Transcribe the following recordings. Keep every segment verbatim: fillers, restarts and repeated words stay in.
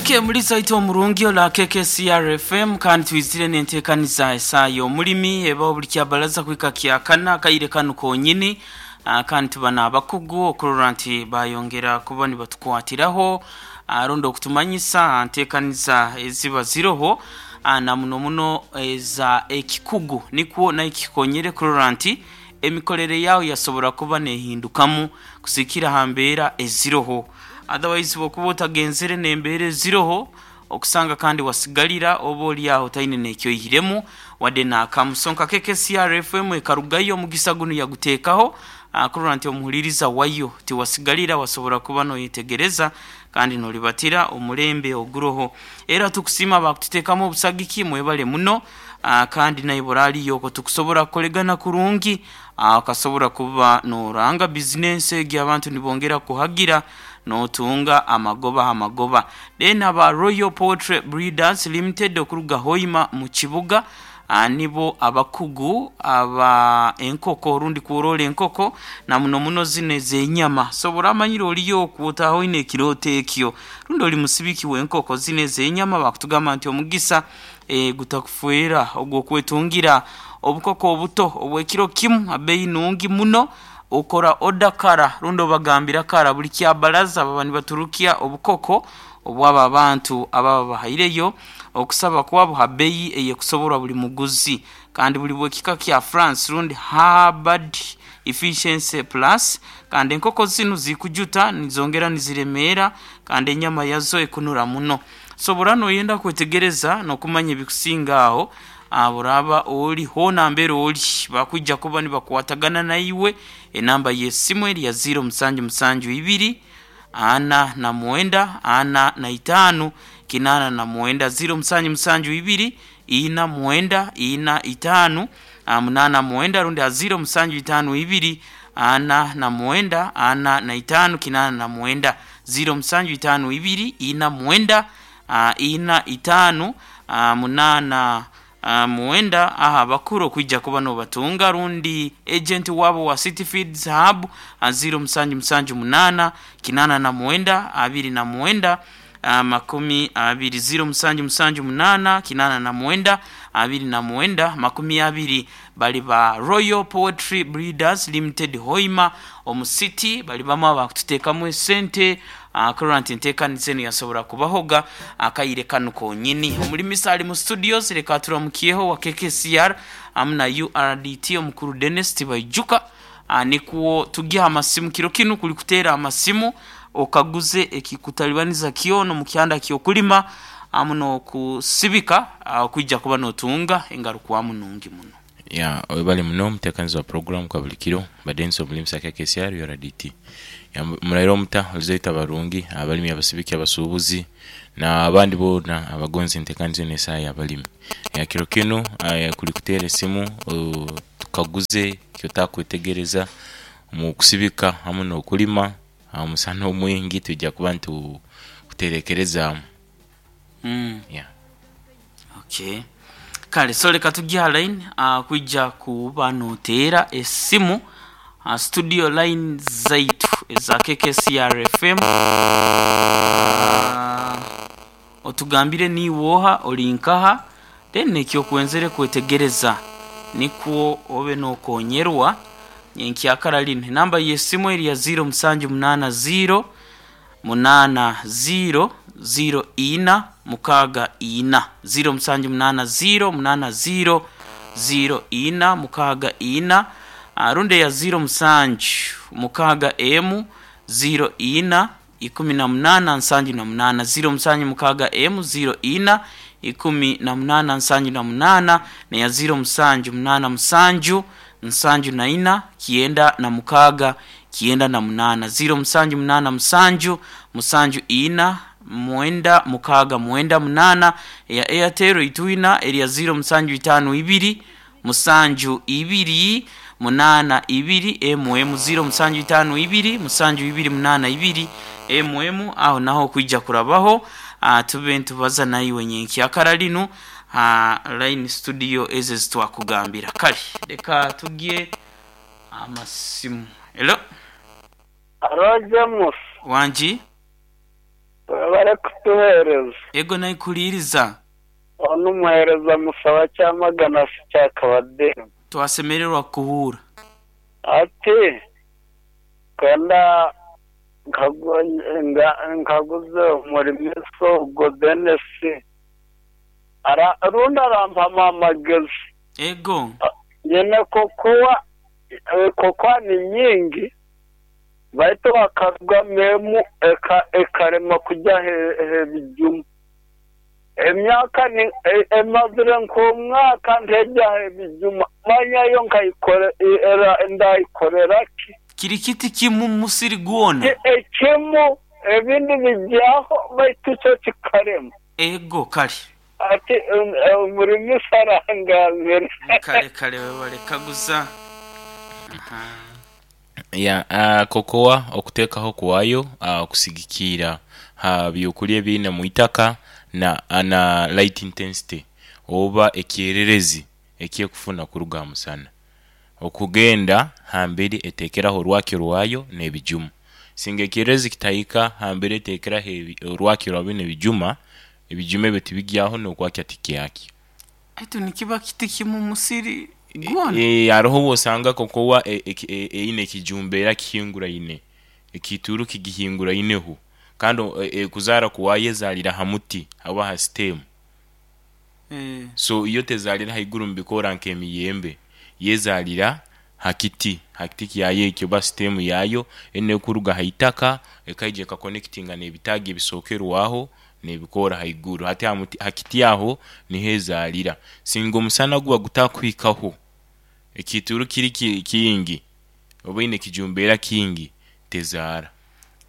Okay, mulisa ito omurungi ola K K C R F M, kandi twizire nentekaniza esaa omulimi eba buli kyabalaza kwika kyakana kaire kanu konyini. uh, kandi tuba n'abakugu okurora nti bayongera kuba nibatukwatiraho aronda okutumanyisa ntekaniza eziba ziroho, uh, na muno muno eza ekikugu, nikwo naikikonyere kurora nti emikorere yawe yasobora kuba nehindukamu kusikira ha mbeera eziroho. Otherwise bwokuba otagenzere n'embeera eziroho, okusanga kandi wasigalira oba oli aho otaine nekyoihiremu wadde nakamu. So nka K K C R F M ekarugayo, omugisa gunu yaguteekaho kurora nti omuhuliriza wayo tiwasigalira, wasobora kuba noyetegereza kandi nolibatira omulembe oguroho. Era tukusiima bakututeekamu obusagiki, mwebale muno. Kandi naiwe oraliyo okwo tukusobora kukoregana kurungi, okasobora kuba noranga bizinesi egi, abantu nibongera kuhagira, notunga amagoba ha magoba. Then aba Royal Poultry Breeders Limited okuruga Hoima mu kibuga, nibo abakugu aba enkoko orundi kworora enkoko, na muno muno zino ez'enyama. So oramanyire oliyo okwo otaaha oine ekirooto ekyo, rundi oli musibiki w'enkoko zino ez'enyama, bakutugamba nti omugisa e, gutakufeera ogw'okwetungira obukoko obuto obw'ekiro kimu abeeyi nungi muno. Okora oda kara rundi obagambira kara, buli kyabalaza baba nibaturukya obukoko obwabo abantu ababa bahaireyo okusaba kwabo ha beeyi eyekusoborwa buli muguzi, kandi buli bwekika kya France rundi Hubbard Efficiency Plus. Kandi enkoko zinu zikujuta, nizongera niziremeera, kandi enyama yazo ekunura muno. Sobora noyenda kwetegereza n'okumanya ebikusinga aho, oraba oli hoona mbere oli, bakwija kuba nibakwatagana naiwe. Enamba y'esimu eri ya ziro musanju musanju ibiri ana na mwenda ana na itaano kinaana na mwenda, ziro musanju musanju ibiri ina mwenda ina itaano munaana mwenda, rundi ha ziro musanju itaano ibiri ana na mwenda ana na itaano kinaana na mwenda, ziro musanju itaano ibiri ina mwenda ina itaano munaana mwenda. Aha abakuru okwija kuba nobatunga, rundi agent wabo wa City Feeds Hub, ziro musanju musanju munaana kinaana na mwenda abiri na mwenda makumi abiri, ziro musanju musanju munaana kinaana na mwenda abiri na mwenda makumi abiri. Bali ba Royal Poultry Breeders Limited, Hoima omu city. Bali bamu abakututeekamu esente kurora nti enteekaniza enu yasobora kubahoga akaire kanu konyini. Omulimisa ali mu studios, leka turamukyeho wa K K C R amu na U R D T omukuru Dennis Tibaijuka, nikwo tugye amasimu. Kiro kinu kuli kuteera amasimu okaguze ekikutalibaniza kyona omu kyanda ky'okulima amu n'okusibika, okwija kuba notunga engarukwamu nungi muno. Ya, webale muno omuteekanizi wa program kwa buli kiro badensi omulimisa K K C R U R D T. Muraire omuta olizaita barungi abalimi, abasibiki, abasuubuzi n'abandi boona abagonza enteekaniza eno esaa y'abalimi. Ya, kiro kinu kuli kuteera esimu tukaguze kyotakwetegereza mu kusibika hamu n'okulima. Omusana omwingi twija kuba nitukuterekerezaamu. Mm. Yeah. Okay. Kale, so leka tujye ha line uh, kwija kuba noteera esimu uh, studio line zaitu eza K K C R F M, uh, otugambire niiwe oha, oli nkaha, then nekyokwenzere kwetegereza, nikwo obe nokonyerwa nyenkyakara linu. Enamba y'esimu eri ya ziro musanju munaana ziro munaana ziro ziro ina mukaaga ina, ziro musanju munaana ziro munaana ziro ziro ina mukaaga ina, rundi eya ziro musanju mukaaga emu ziro ina ikumi na munaana nsanju na munaana, ziro musanju mukaaga emu ziro ina ikumi na munaana nsanju na munaana, neya ziro musanju munaana musanju nsanju na ina kyenda na mukaaga kyenda na munaana, ziro musanju munaana musanju musanju ina mwenda mukaaga mwenda munaana. Eya Airtel itwina erya ziro musanju itaano ibiri musanju ibiri munaana ibiri mm, ziro musanju itaano ibiri musanju ibiri munaana ibiri mm. Aho naho kwija kurabaho uh, tube ntubaza naiwe nyenkyakara linu uh, line studio ezo ezitwakugambira. Kale reka tugye amasimu. Hello. Alo, James. Wangi. Barikutuheereza. Ego naikuliiriza. Onu omuheereza musaba kyamagana si kyakabademu. Twasemererwa kuhura. Ati kwenda nkagu- nga- nkaguze omurimiso ogwo Denisi. Ara rundi arampama amagezi. Ego. Nyine kokowa eh, kokowa ni nyingi baitu bakarugamu emu eka ekarema kujya hebijuma emyaka ni e- emazire nk'omwaka ntejya hebijuma manyayo nkayikore e- era ndayikorera ki Kiri kiti kimu musiri gwona. E- ekimu ebindi bijyaho baitu cyo kikarema Ego kale. ati um, umurimisi arangambira Kale kale webale kaguza. Aha. Ya, uh, kokowa okuteekaho kwayo uh, okusigikiira ha byokulya ebiine mu itaka na, na light intensity oba ekyererezi ekyekufuna kuruga aha musana. Okugenda hamberi eteekeraho orwakyo rwayo n'ebijuma. Singa ekyererezi kitahika hamberi eteekeraho ebi- orwakyo rwayo n'ebijuma, ebijuma ebyo tibigyaho n'okwakya tikyakya. Aitu nikiba kiti kimu musiri gwona. E, hariho obwosanga kokowa e- e- e- eine ekijumba era kihinguraine ekituru kigihinguraineho kandi e, e, kuzaara kuwayo ezaalira ha muti oba ha stem. Eh. So iyo tezaalira haiguru mubikoora nk'emiyembe, yezaalira ha kiti ha kiti kyayo ekyo oba stem yayo ene kuruga ha itaka ekaija ekakonectinga n'ebitaagi ebisookerwaho n'ebikoora haiguru. Hati ha muti ha kiti aho niho ezaalira. Singa omusana guba gutakuhikaho ekituru kiri ki- kingi oba eine ekijumba era kingi tezaara.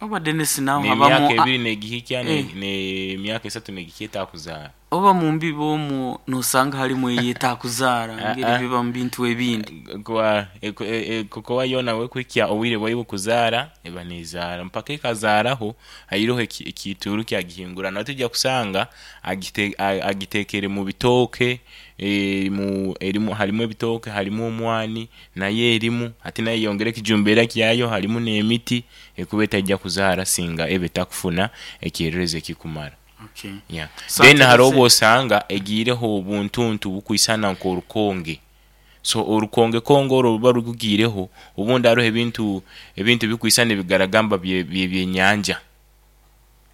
Oba Dennis nawe N'emyaka habamu ebiri negihikya Eh. n'emyaka esatu negihikya etakuzaara. Oba mu mbibo omwo nosanga harimu eyetakuzaara Ah, ngeri ah. biba mu bintu ebindi. Kwa e- e- e- kokowa yoona wekuhikya obwire bwayo bw'okuzaara eba nezaara mpaka ekazaaraho hairoho eki- ekituru kyagihingurana. Tujja kusanga agite, a- agiteekere mu bitooke e, mu erimu harimu ebitooke harimu omwani nayo erimu ate nayo eyongera ekijumba era kyayo harimu n'emiti ekuba etajja kuzaara singa eba etakufuna ekyererezi ekikumara. Okay. Yeah. So Then hariho ate- obwosanga egiireho obuntuntu bukwisana nk'orukonge. So orukonge konge orwo ruba rugugiireho obundi hariho ebintu ebintu bikwisana ebigaragamba bye bye- byenyanja.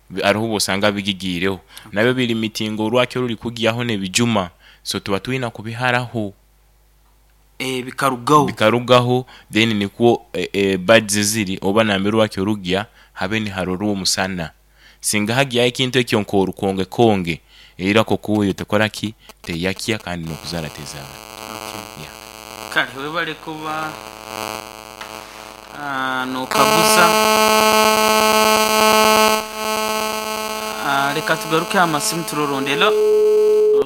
Bi- Hariho obwosanga bigigiireho nabyo biri mitingo orwakyo ruri kugyaho n'ebijuma, so tuba twina kubiharaho Eh bikarugaho. bikarugaho then nikwo e, e, buds ziri oba nambere orwakyo rugya habe niharora omusana. Singa hagyaho ekintu ekyo nk'orukonge konge era kokowa eyo tekora ki teyakya kandi n'okuzaara tezaara. Okay. Yeah. Kale webale kuba ah, nokaguza. Ah, leka tugaruke amasimu turorondelo. So